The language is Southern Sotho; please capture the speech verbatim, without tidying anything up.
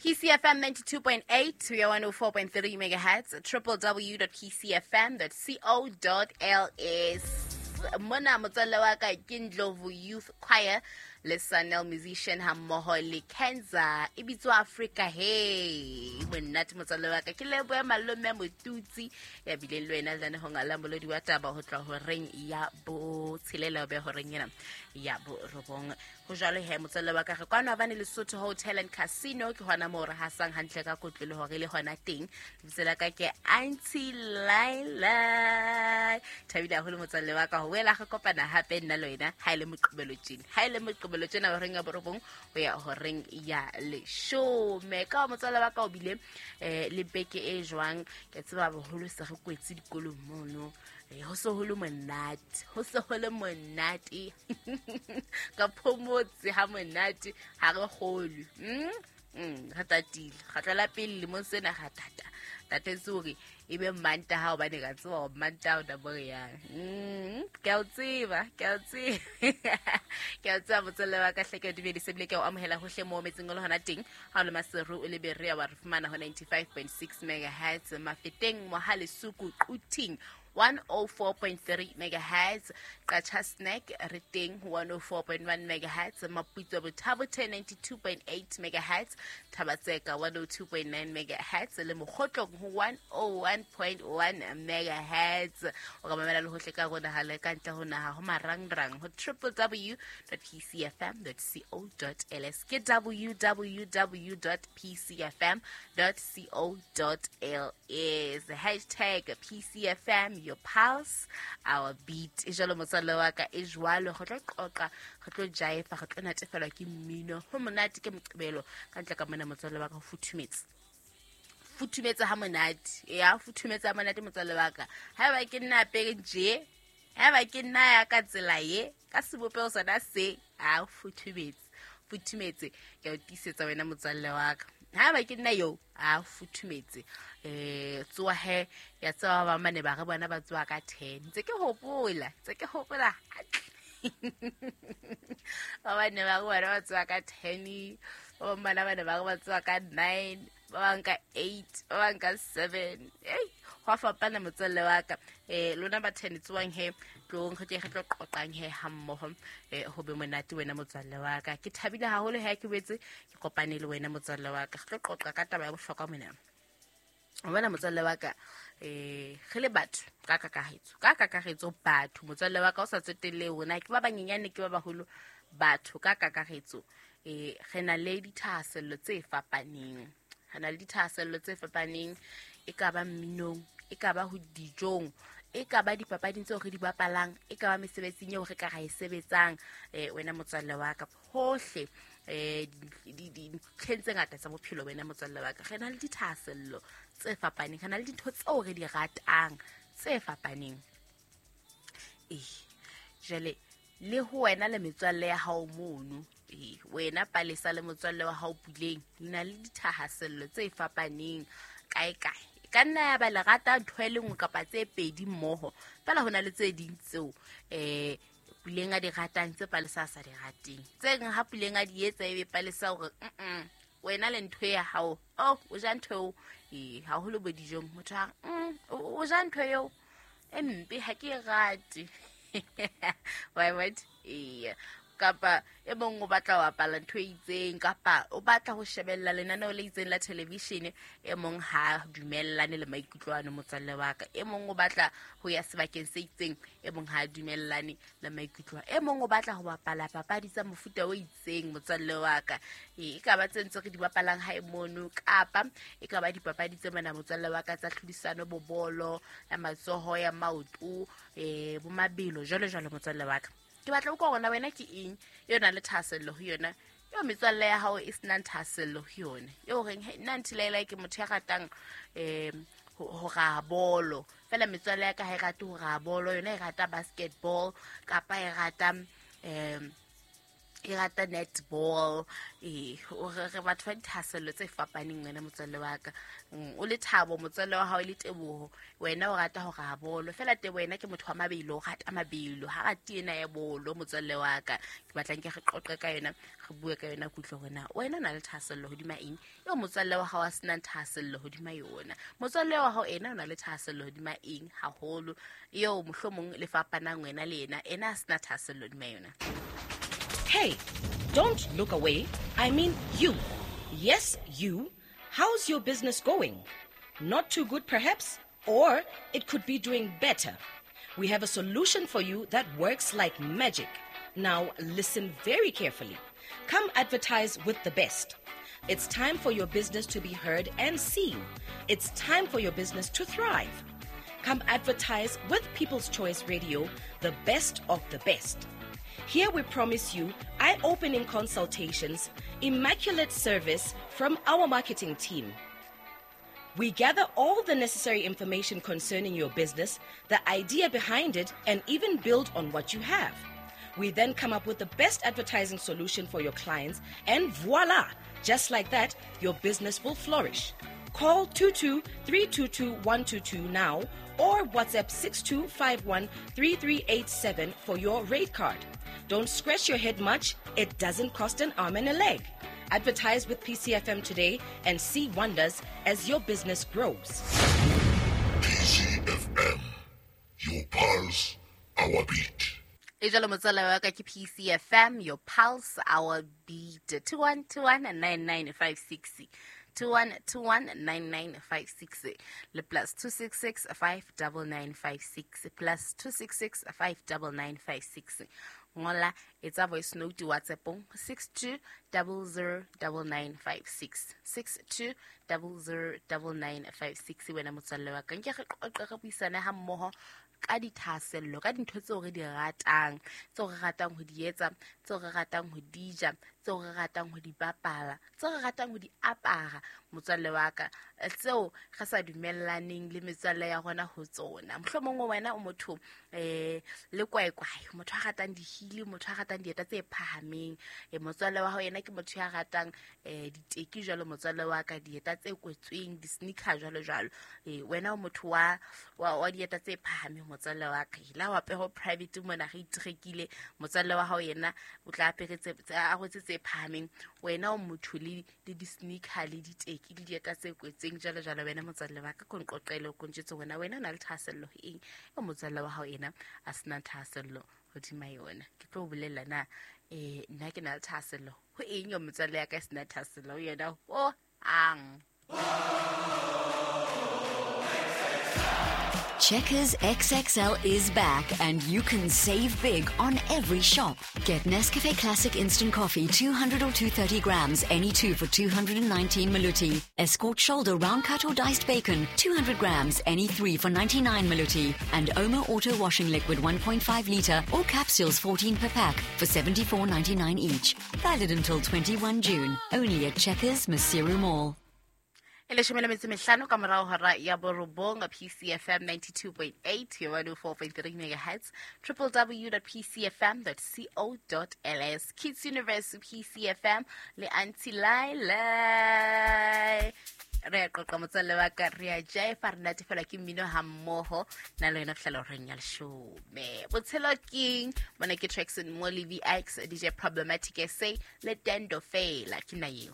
P C F M ninety-two point eight, we are one oh four point three megahertz, triple w dot p c f m dot co dot l s. Mona motswalle wa ka ke Ndlovu Youth Choir le Sanel musician hammoho le Kenza e bitswa Africa. Hey monate motswalle wa ka, ke lebohe malome Motutsi ya bileng le wena le ho ngala molodi wa taba ho tla horeng ya botshelela be horeng ena ya borobong. Ho jwalo he motswalle wa ka, re kwano Havana Lesotho Hotel and Casino, ke hona moo re hasang hantle ka kotlo le hore le hona teng. Lebitso la ka ke Auntie Laila. Thabile haholo motswalle wa ka ho wela re kopana hape nna le wena ha ile moqebelo tjena, ha ile moqebelo tjena horeng ya borobong ho ya horeng ya leshome. Ka motswalle wa ka o bile eh le beke e jwang? Ke tseba boholo se re kwetse dikolong mono. Eh ho se ho le monate, ho se ho le monate. Ka phomotse ha monate ha re kgolwe. Mm? Mm, re tatile. Re tlela pele lemong sena ra tata. Tatetse hore e be Mantaha hobane ka tseba hore Mantaha o tla bo re yang. Mm, ke a o tseba, ke a o tseba. Ke a o tseba motswalle wa ka hle, ke o dumedise ebile ke a o amohela hohle moo metseng o le hona teng. Ha o le Maseru o le Berea wa re fumana ho ninety-five point six megahertz, Mafeteng, Mohale, Suku, Quthing one oh four point three megahertz, Qacha Snack re teng one oh four point one megahertz, Maputswa Bothabothe ninety-two point eight megahertz, Thabatseka one oh two point nine megahertz le Mokgotlong ho one oh one point one megahertz. O ka mamela le hohle ka rona ha le ka ntle ho naha ho marangrang ho triple w dot p c f m dot co dot l s, ke w w w dot p c f m dot co dot l s. Hashtag P C F M, your pulse, our beat. E jwalo motswalle wa ka, e jwalo re tlo qoqa, re tlo jaifa, re tlo natefelwa ke mmino. Ho monate ke moqebelo ka ntle ka mona motswalle wa ka, ho futhumetse. Futhumetse ha monate. Ya futhumetse ha monate motswalle wa ka. Haeba ke nna apere nje, haeba ke nna ya ka tsela ye, ka sebopeho sona se, a futhumetse. Futhumetse ke o tiisetsa wena motswalle wa ka. Haeba ke nna yo, a futhumetse. Eh tsoa he ya tseba ba mane ba re bona ba tsoa ka ten. Ntse ke hopola, ntse ke hopola. Ba bane ba re bona ba tsoa ka ten, ba bang bana bane ba re ba tsoa ka nine, ba bang ka eight, ba bang ka seven. Ei, ho fapana motswalle wa ka. Eh lona ba ten tsoang he tlong re tle re tlo qoqang he ha mmoho, eh ho be monate wena motswalle wa ka. Ke thabile haholo ha ke boetse ke kopane le wena motswalle wa ka. Re tlo qoqa ka taba ya bohlokwa mona. O bona motswalle wa ka, eh re le batho ka kakaretso, ka kakaretso batho motswalle wa ka o sa tsotelle hore ke ba banyenyane ke ba baholo, batho ka kakaretso eh re na le dithahasello tse fapaneng. Re na le dithahasello tse fapaneng, e ka ba mminong, e ka ba ho dijong, e ka ba dipapading tseo re di bapalang, e ka ba mesebetsing eo re ka ra e sebetsang. Eh wena motswalle wa ka, hohle eh dintlheng tse ngata tsa bophelo wena motswalle wa ka, re na le dithahasello tse fapaneng, re na le dintho tseo re di ratang tse fapaneng. Eh jwale le ho wena le metswalle ya hao mono, eh wena Palesa le motswalle wa hao Puleng, le na le dithahasello tse fapaneng kae kae. Ka nna ya ba le rata ntho e le nngwe kapa tse pedi mmoho, fela ho na le tse ding tseo eh Puleng a di ratang tse Palesa a sa di rateng. Tse ding ha Puleng a di etsa ebe Palesa hore mm wena le ntho ya hao, oh o ja ntho eo, eh haholo bo dijong motho a mm o ja ntho eo e mpe ha ke e rate. Why what? Eh kapa e mong o batla ho apala ntho e itseng, kapa o batla ho shebella lenaneo le itseng la television, e mong ha dumellane le maikutlo ano motswalle wa ka. E mong o batla ho ya sebakeng se itseng, e mong ha dumellane le maikutlo. E mong o batla ho bapala papadi tsa mofuta o itseng motswalle wa ka. E ka ba tse ntse re di bapalang hae mono, kapa e ka ba dipapadi tse mona motswalle wa ka tsa tlhodisano, bo bolo ya matsoho, ya maoto, eh bo mabelo jwalo jwalo motswalle wa ka. Ke batla utlwa hore na wena ke eng eo nang le thahasello ho yona, eo metswalle ya hao e senang thahasello ho yona, eo reng nna Auntie Laila ke motho ya ratang eh ho raha bolo, fela metswalle ya ka ha e rate ho raha bolo, yona e rata basketball kapa e rata eh E rata netball. Eh, re batho ba dithahasello tse fapaneng wena motswalle wa ka. O le Thabo motswalle wa hao le Teboho, wena o rata ho raha bolo. Fela Teboho yena ke motho wa mabelo, o rata mabelo, ha rate ena ya bolo motswalle wa ka. Ke batlang ke re qoqe ka yona, re bue ka yona kutlwe hore na wena o na le thahasello hodima eng eo motswalle wa hao a senang thahasello hodima yona. Motswalle wa hao ena o na le thahasello hodima eng haholo eo mohlomong le fapanang wena le yena, ena a sena thahasello hodima yona. Hey, don't look away. I mean you. Yes, you. How's your business going? Not too good, perhaps? Or it could be doing better. We have a solution for you that works like magic. Now, listen very carefully. Come advertise with the best. It's time for your business to be heard and seen. It's time for your business to thrive. Come advertise with People's Choice Radio, the best of the best. Here we promise you eye-opening consultations, immaculate service from our marketing team. We gather all the necessary information concerning your business, the idea behind it, and even build on what you have. We then come up with the best advertising solution for your clients, and voila! Just like that, your business will flourish. Call two two three two two one two two now or WhatsApp six two five one three three eight seven for your rate card. Don't scratch your head much. It doesn't cost an arm and a leg. Advertise with P C F M today and see wonders as your business grows. P C F M, your pulse, our beat. E jalo motswala wa ka ke P C F M, your pulse, our beat. two one two one nine nine five six. two one two one nine nine five six le plus two six six five nine nine five six plus two six six five nine nine five six. Ngola etsa voice note WhatsApp six two zero zero nine nine five six six two zero zero nine nine five six. Wena motswalle wa ka nke re qoqe re buisane ha mmoho ka dithahasello, ka dintho tseo re di ratang, tseo re ratang ho di etsa, tseo re ratang ho di ja, tseo re ratang ho di bapala, tseo re ratang ho di apara motswalle wa ka, tseo re sa dumellaneng le metswalle ya rona ho tsona. Mohlomong wena o motho eh le kwaekwae, motho a ratang dihili, motho a ratang dieta tse phahameng, eh motswalle wa hao yena ke motho ya ratang eh diteki jwalo motswalle wa ka, dieta tse kwetsweng, di-sneaker jwalo jwalo. Eh wena o motho wa wa dieta tse phahameng motswalle wa ka, la wa peho private mona re itrekile, motswalle wa hao yena o tla aperetse a rwetse tse phahameng, wena o motho le le di-sneaker le diteki le dieta tse kwetseng jwalo jwalo. Wena motswalle wa ka ko nqoqele o kontjetse wena wena o na le thahasello ho eng eo motswalle wa hao yena a sena thahasello hodima yona. Ke tlo bolella na eh nna ke na le thahasello ho eng eo motswalle ya ka e sena thahasello ho yona ho ang. Checkers X X L is back and you can save big on every shop. Get Nescafe Classic Instant Coffee two hundred or two hundred thirty grams, any two for two hundred nineteen maluti. Escort shoulder round cut or diced bacon, two hundred grams, any three for ninety-nine maluti. And Omo Auto Washing Liquid one point five litre or capsules fourteen per pack for seventy-four ninety-nine each. Valid until twenty-first June. Only at Checkers Maseru Mall. E leshome le metso mehlano ka morao hora ya borobong, P C F M ninety-two point eight, one oh four point three megahertz, w w w dot p c f m dot co dot l s. Kids Universe P C F M le Auntie Laila. Re a qoqa motswalle wa ka, re a jaifa, re natefelwa ke mmino ha mmoho na le wena fihlela horeng ya leshome. Botshelo King, mona ke Traxon Molly V X, D J Problematic S A le Dendo Fela ke nna eo.